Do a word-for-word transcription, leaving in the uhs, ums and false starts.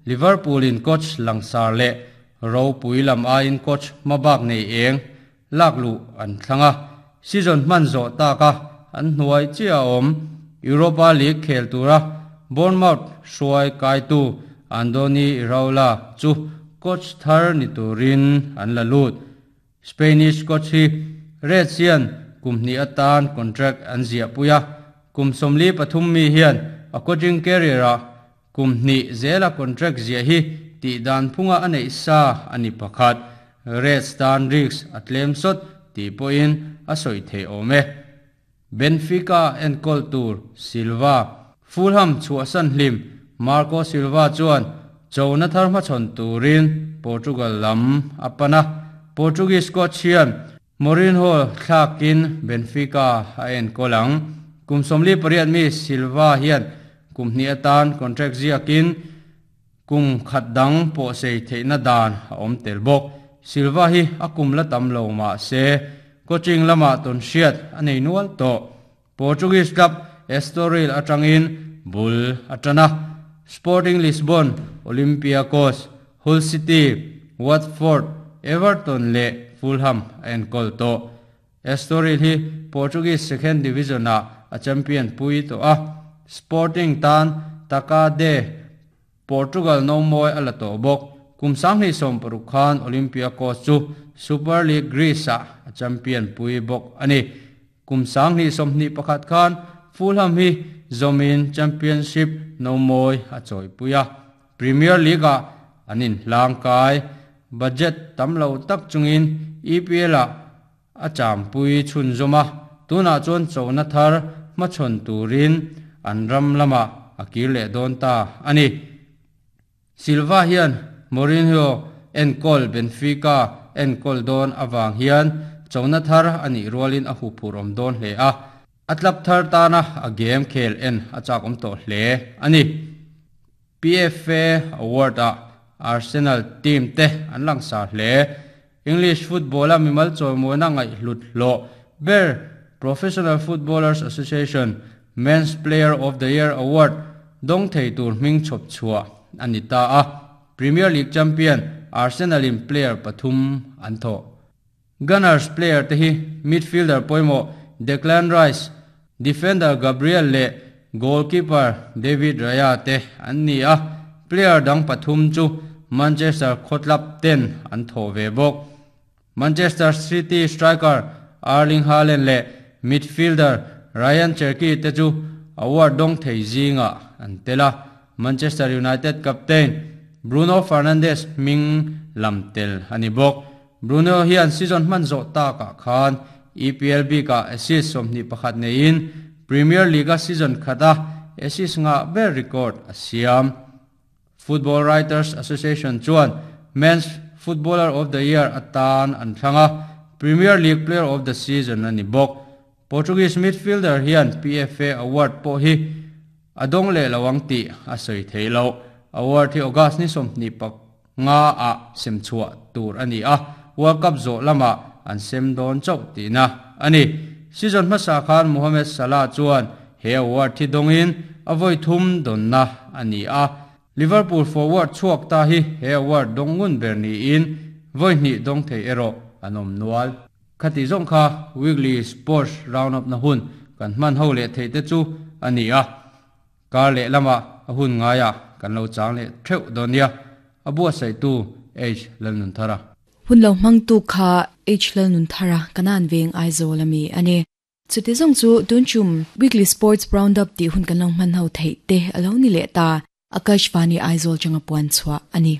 Liverpool in coach langsar leh ropui lam aiin coach mabak nei eng laklu an thlanga season hman zo taka an hnuai chi a awm Europa League khel tura Bournemouth hruai kaitu Andoni Iraola chu coach thar ni turin an la lut Spanish coach hi Reds hian kum hnih atan contract an ziah puia kum sawmli pathum mi hian a coaching career a kum hnih zela contract ziah hi tih dan phunga a neih sa ani pakhat Reds tan risk a tlem sawt tih pawhin a sawi thei awm e Benfica enkawl tur Silva Fulham chhuahsan hlim Marco Silva chuan chona thar hmachhawn turin Portugal lam a pana Portuguese coach hian Mourinho thlakin Benfica a enkawl ang kum sawmli pariat mi Silva hian kum hnih atan contract ziakin kum khat dang pawh sei theihna dan a awm tel bawk Silva hi a kum la tam lo ma se coaching lama ton hriat a nei nual tawh Portuguese club Estoril atangin bul atana Sporting Lisbon Olympiacos Hull City Watford Everton leh Fulham enkawl tawh Estoril hi Portuguese second division a a champion pui to a Sporting tan Taça de Portugal no moi ala to bawk kum sanghnih sawm paruk khan Olympiacos chu Super League Greece a a champion pui bawk ani kum sanghnih sawmhnih pakhat khan Fulham hi zomin Championship no moi a chawi puia Premier League a anin hlangkai budget tamlo tak chungin E P L a a champui chhun zoma tuna chuan chona thar hmachhawn turin an ram lama a kir leh dawn ta ani Silva hian Mourinho enkawl Benfica enkawl dawn awang hian chona thar ani rualin a huphur awm dawn hle a a club thar tana a game khel en a chak awm tawh hle ani P F A Award a Arsenal team te an langsar hle English football a mimal chawimawina ngaih hlut hlawh ber Professional Footballers Association Men's Player of the Year Award dawng thei tur hming chhawp chhuah ani ta a Premier League champion Arsenal in player pathum an thaw Gunners player te hi midfielder pawimawh Declan Rice, defender Gabriel leh goalkeeper David Raya te an ni a player dang pathum chu Manchester khawtlap ten an thaw ve bawk Manchester City striker Erling Haaland leh midfielder Rayan Cherki te chu award dawng thei zinga an tela Manchester United captain Bruno Fernandes hming lam tel ani bawk Bruno hian season hman zawh takah khan E P L bika assist sawmhnih pakhat neiin Premier League a season khata assist nga ber record a siam Football Writers Association chuan Men's Footballer of the Year atan an thlanga Premier League Player of the Season ani bawk Portuguese midfielder hian P F A Award pawh hi a dawng leh lawang tih a sawi thei lo award hi August ni sawmhnih pak nga a sem chhuah tur ani a World Cup zawh lama an sem dawn chauh tihna ani season hmasa khan Mohamed Salah chuan he award thi dawngin a vawi thum dawnna ani a Liverpool forward chhuak ta hi he award dawng ngun ber niin vawi hnih dawng thei erawh an awm nual khati zawng kha weekly sports round up na hun kan hman ho leh thei te chu ani a kar leh lama a hun ngaia kan lo chang leh theuh dawnia a bua sai tu H Lalnun Thara. Hun lo mang tu kha H Lalnun Thara kanan veng Aizawl ami ani chuti zong chu tunchum weekly sports roundup ti hun kan long man ho thei te alo ni le ta Akashvani Aizawl changa puan chua ani.